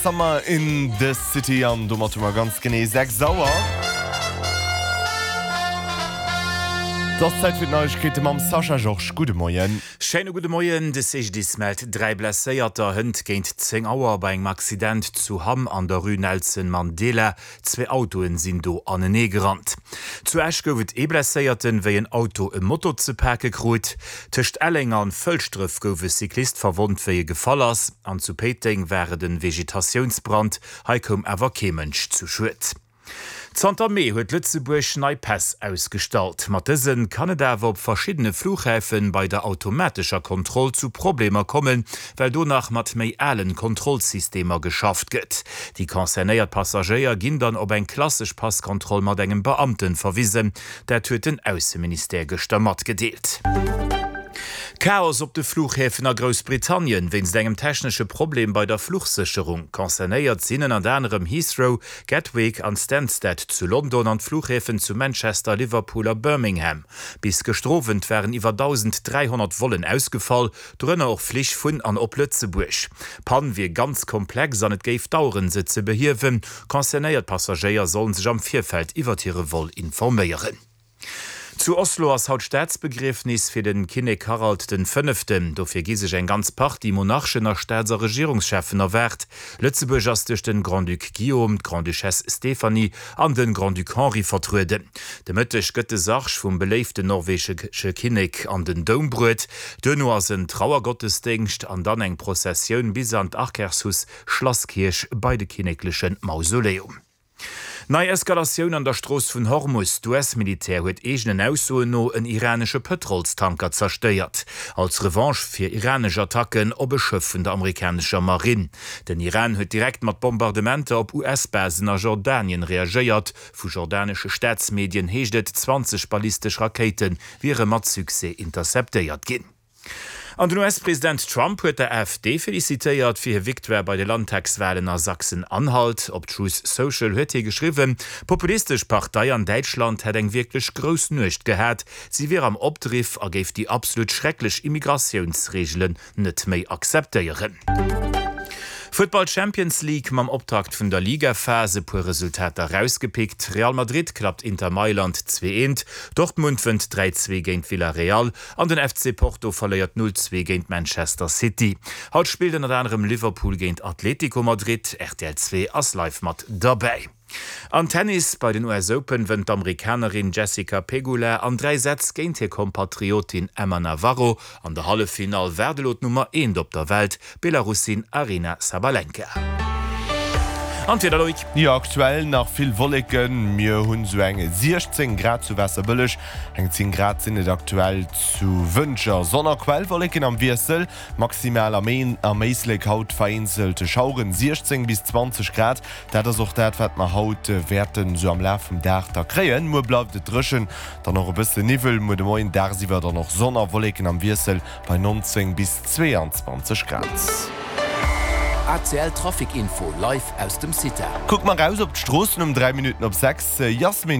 Summer in the City an domat hu mer ganz genee 6 Auer. Et ass Zäit fir d'Neiegkeete mam Sascha Georges. Gudde Moien. Schéine gudde Moien. De CGDIS mellt 3 Blesséierter hënt géint 10 Auer bei engem Accident zu Hamm an der Rue Nelson Mandela. Zwee Autoen sinn do anenee gerannt. Zu Esch gouf et ee Blesséierten, wéi en Auto e Moto ze pake krut. Tëscht Elleng an Fëlschdref gouf e Cyclist verwonnt, wéi e gefall ass. An zu Péiteng war et en Vegetatiounsbrand, hei koum awer kee Mënsch zu Schued. Zanter Mee huet Lëtzebuerg nei Päss ausgestallt. Mat dëse kann et awer op verschiddene Flughäfen bei der automatescher Kontroll zu Problemer kommen, well do nach mat méi alen Kontrollsystemer geschafft gëtt. Déi concernéiert Passagéier ginn dann op eng klassesch Passkontroll mat engem Beamten verwisen. Dat huet den Ausseministère gëschter matgedeelt. Chaos op de Flughäfen a Groussbritannien wéinst engem technesche Problem bei der Fluchsécherung. Concernéiert sinn ënnert anerem Heathrow, Gatwick an Stansted zu London an d'Flughäfen zu Manchester, Liverpool a Birmingham. Bis gëschter Owend waren iwwer 1.300 Vollen ausgefall, Dorënner och Flich vun an op Lëtzebuerg. D'Pann wier ganz komplex an et géif daueren, se ze behiewen. Concernéiert Passagéier sollen sech am Virfeld iwwert hire Vol informéieren. Zu Oslo ass haut Staatsbegriefnis fir de Kinnek Harald den Fënneften. Dofir gi sech eng ganz Partie Monarchen a Staats a Regierungscheffen erwaart. Lëtzebuerg ass duerch den Grand-Duc Guillaume, d'Grande-Duchesse Stéphanie an den Grand-Duc Henri vertrueden. De Mëtteg gëtt de Sarg vum beléiften norwegesche Kinnek an den Doum bruet. Duerno ass en Trauergottesdéngscht an dann eng Prozessioun bis an d'Akershus Schlasskierch bei de kinnekleche Mausoleum. Nei Eskalatioun an der Strooss vun Hormus, D'US-Militär huet eegenen Aussoen no en iranesche Pëtrolstanker zerstéiert, als Revanche fir iranesch Attacken op e Schëff vun der amerikanescher Marinn. Den Iran huet direkt mat Bombardementer op US-Basen a Jordanien reagéiert. Vu jordanesche Staatsmedien heescht et, 20 ballistesch Rakéite wiere mat Succès interceptéiert ginn. An den US-President Trump huet der AfD felicitéiert fir hir Victoire bei de Landtagswalen a Sachsen-Anhalt. Op Truth Social huet hie geschriwwen, d'populistesch Partei an Däitschland hätt eng wierklech grouss Nuecht gehat, si wier am Opdriff a géif déi absolut schrecklech Immigratiounsreegelen net méi akzeptéieren. Futtball Champions League, Mam Optakt vun der Ligaphas e puer Resultater rausgepickt, Real Madrid klappt Inter Mailand 2, 1, Dortmund wënnt 3, 2 géint Villarreal an den FC Porto verléiert 0, 2 géint Manchester City. Haut spillt ënnert anerem Liverpool géint Atletico Madrid. Rtl 2 ass live mat derbäi. Am Tennis bei den US Open wënnt d'Amerikanerin Jessica Pegula an 3 Sätz géint hir Kompatriotin Emma Navarro. An der Halleffinall waart elo d'Nummer eent op der Welt, d'Belarussin Aryna Sabalenka. An d'Wieder, Loïc? Jo, aktuell nach vill Wolleken. Mir hunn sou eng 16 Grad zu Waasserbëlleg, eng 10 Grad sinn et aktuell zu Wëntger. Sonn a Quellwolleken am Wiessel, maximal am Éislek haut vereenzelte Schaueren, 16 bis 20 Grad. Dat ass och dat, wat mer haut wäerten esou am Laf vum Dag da kréien. Muer bleift et dréchen, dann och e bësse Niwwel. Muer de Moien dagsiwwer dann och Sonn a Wolleken am Wiessel bei 19 bis 22 Grad. ACL Trafic Info live aus dem CITA. Kucke mer raus op d'Stroossen um 3 Minutten op 6. Yasmin.